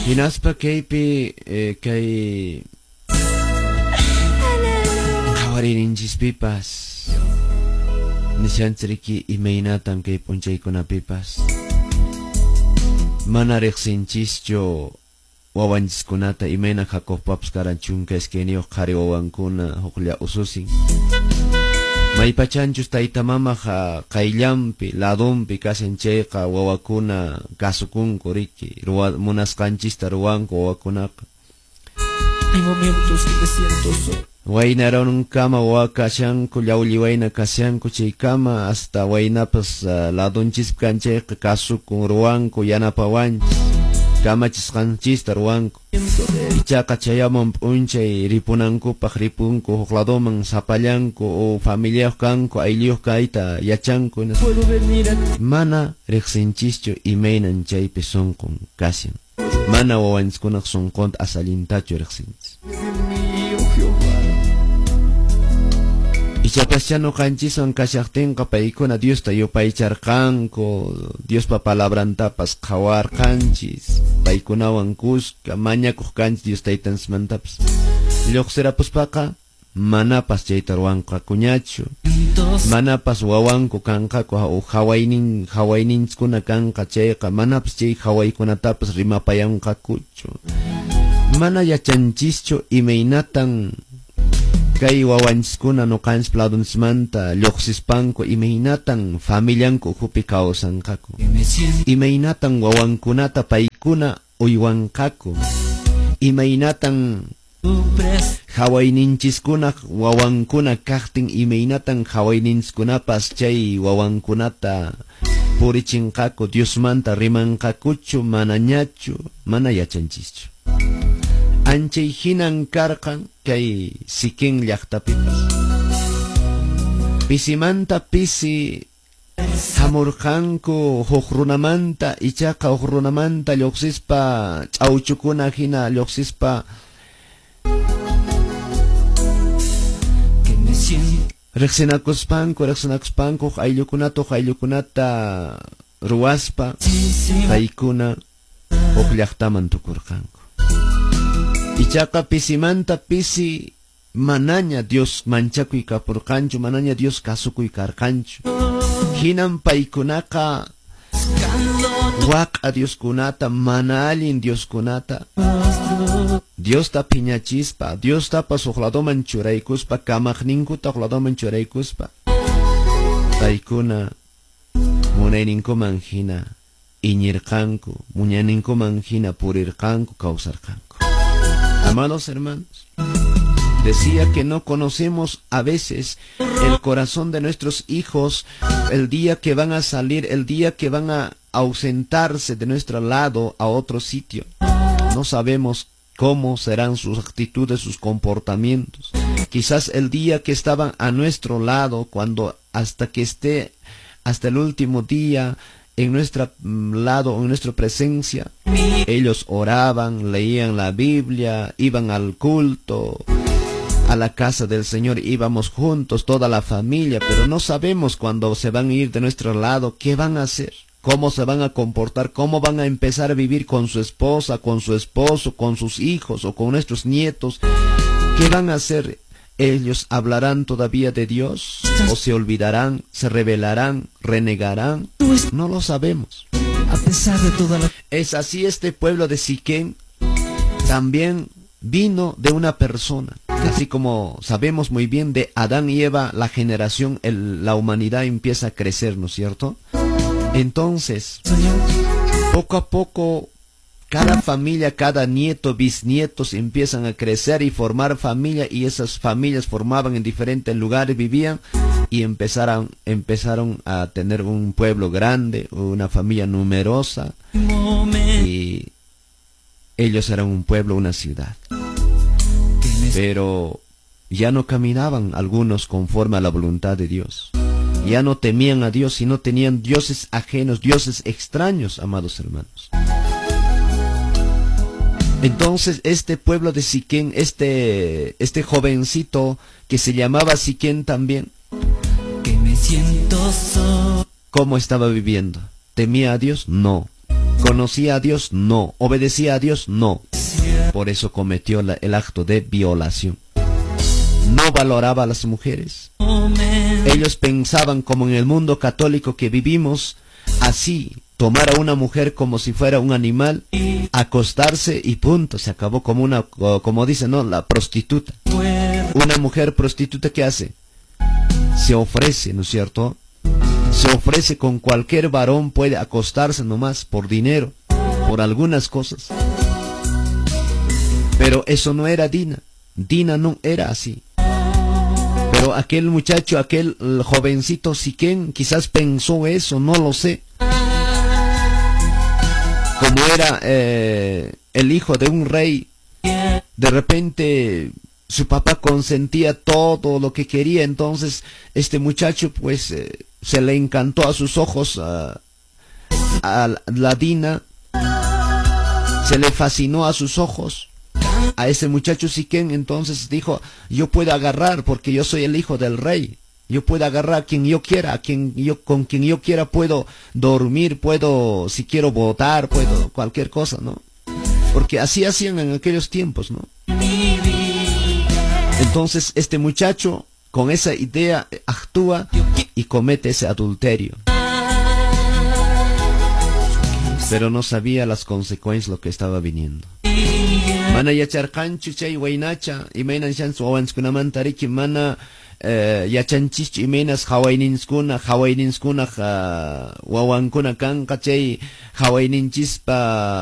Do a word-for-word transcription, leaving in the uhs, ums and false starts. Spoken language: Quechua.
Hinaspa kaypi eh, kay qhawariyninchispipas nishanchiriki imaynatan kay p'unchaykunapipas mana riqsinchischu wawanchiskunata imayna Jacobpapas karan chunka iskayniyuq qhari wawankuna huklla ususin. Maypachanchus tayta mamaqa qayllanpi ladunpi kashan chayqa wawakuna kasukunku riki ruwa munasqanchista ruwanku wawakunaqa. Hay momentos que me siento solo. Waynarunkama wawa kashanku llawlli wayna kashanku chaykama hasta waynapas uh, ladunchispi kan chayqa kasukun ruwanku yanapawanchis kamachisqanchista ruwanku. Ichaqa chayamun p'unchay ripunankupaq ripunku huk laduman sapallanku o familiayuq kanku aylluyuq kayta yachanku. Puedo venir a ti. Mana riqsinchischu imaynan chaypi sunqun kashan. Mana wawanchiskunaq sunqunta asallintachu riqsinchis. De mí, oh Jehová. Ichapaschá ñuqanchiswan kashaqtinqa paykuna Diosta yupaycharqanku, Diospa palabrantapas qhawarqanchis, paykunawan kuska mañakuq kanchis Dios taytanchismantapas. Lluqsirapuspaqa manapas chayta ruwanqakuñachu, manapas wawanku kanqaku o hawaynin hawayninchiskuna kanqa chayqa manapas chay hawaykunatapas rimapayanqakuchu. Mana yachanchischu imaynatan kay wawanchiskuna ñuqanchis ladunchismanta lluqsispanku imaynatan familianku ukhupi kawsanqaku, imaynatan wawankunata paykuna uywanqaku, imaynatan hawayninchishkunaq wawankuna kaqtin imaynatan hawayninchiskunapas chay wawankunata purichinqaku, Diosmanta rimanqakuchu manañachu, mana yachanchischu. Anchay hinan karqan kay Siquem llaqtapipas. Pisimanta pisi hamurqanku huk runamanta, ichaqa huk runamanta lluqsispa ch'awchukuna hina lluqsispa Que me siento riqsinakuspanku riqsinakuspanku huk ayllukunata huk ayllukunata ruwaspa paykuna huk llaqtaman tukurqanku. Ichaqa pisimanta pisi manaña Dios manchakuy kapurqanchu, manaña Dios kasukuy karqanchu. Hinan paykunaqa waq'a Dioskunata, mana allin Dioskunata, Diosta phiñachispa, Diostapas huk ladoman churaykuspa, kamaqninkuta huk ladoman churaykuspa, paykuna munayninkuman hina iñirqanku, munayninkuman hina purirqanku, kawsarqanku. Amados hermanos, decía que no conocemos a veces el corazón de nuestros hijos el día que van a salir, el día que van a ausentarse de nuestro lado a otro sitio. No sabemos cómo serán sus actitudes, sus comportamientos. Quizás el día que estaban a nuestro lado, cuando hasta que esté, hasta el último día, en nuestro lado, en nuestra presencia, ellos oraban, leían la Biblia, iban al culto, a la casa del Señor, íbamos juntos, toda la familia, pero no sabemos cuando se van a ir de nuestro lado, qué van a hacer, cómo se van a comportar, cómo van a empezar a vivir con su esposa, con su esposo, con sus hijos o con nuestros nietos. ¿Qué van a hacer? ¿Ellos hablarán todavía de Dios? ¿O se olvidarán, se rebelarán, renegarán? No lo sabemos. A pesar de toda la... Es así, este pueblo de Siquem también vino de una persona. Así como sabemos muy bien de Adán y Eva, la generación, el, la humanidad empieza a crecer, ¿no es cierto? Entonces, poco a poco, cada familia, cada nieto, bisnietos empiezan a crecer y formar familia, y esas familias formaban en diferentes lugares, vivían y empezaron, empezaron a tener un pueblo grande, una familia numerosa, y ellos eran un pueblo, una ciudad. Pero ya no caminaban algunos conforme a la voluntad de Dios. Ya no temían a Dios, sino tenían dioses ajenos, dioses extraños, amados hermanos. Entonces este pueblo de Siquem, este, este jovencito que se llamaba Siquem también, que me siento solo. ¿Cómo estaba viviendo? ¿Temía a Dios? No. ¿Conocía a Dios? No. ¿Obedecía a Dios? No. Por eso cometió la, el acto de violación. No valoraba a las mujeres. Ellos pensaban, como en el mundo católico que vivimos, así, tomar a una mujer como si fuera un animal, acostarse y punto, se acabó, como una, como dicen, ¿no? La prostituta. Una mujer prostituta, ¿qué hace? Se ofrece, ¿no es cierto? Se ofrece con cualquier varón, puede acostarse nomás por dinero, por algunas cosas. Pero eso no era Dina. Dina no era así. Pero aquel muchacho, aquel jovencito Siquén, quizás pensó eso, no lo sé. Como era eh, el hijo de un rey, de repente su papá consentía todo lo que quería, entonces este muchacho pues eh, se le encantó a sus ojos a, a la Dina, se le fascinó a sus ojos a ese muchacho Siquén, entonces dijo: "Yo puedo agarrar porque yo soy el hijo del rey, yo puedo agarrar a quien yo quiera, a quien yo, con quien yo quiera puedo dormir, puedo, si quiero votar, puedo cualquier cosa", ¿no? Porque así hacían en aquellos tiempos, ¿no? Entonces este muchacho con esa idea actúa y comete ese adulterio. Pero no sabía las consecuencias, lo que estaba viniendo. Mana yacharqanchu chay waynacha imaynan shansu wawanchiskunamanta riki mana eh, yachanchischu imaynas qhawayninskuna qhawayninskuna wawankuna kanqa chay qhawayninchispa.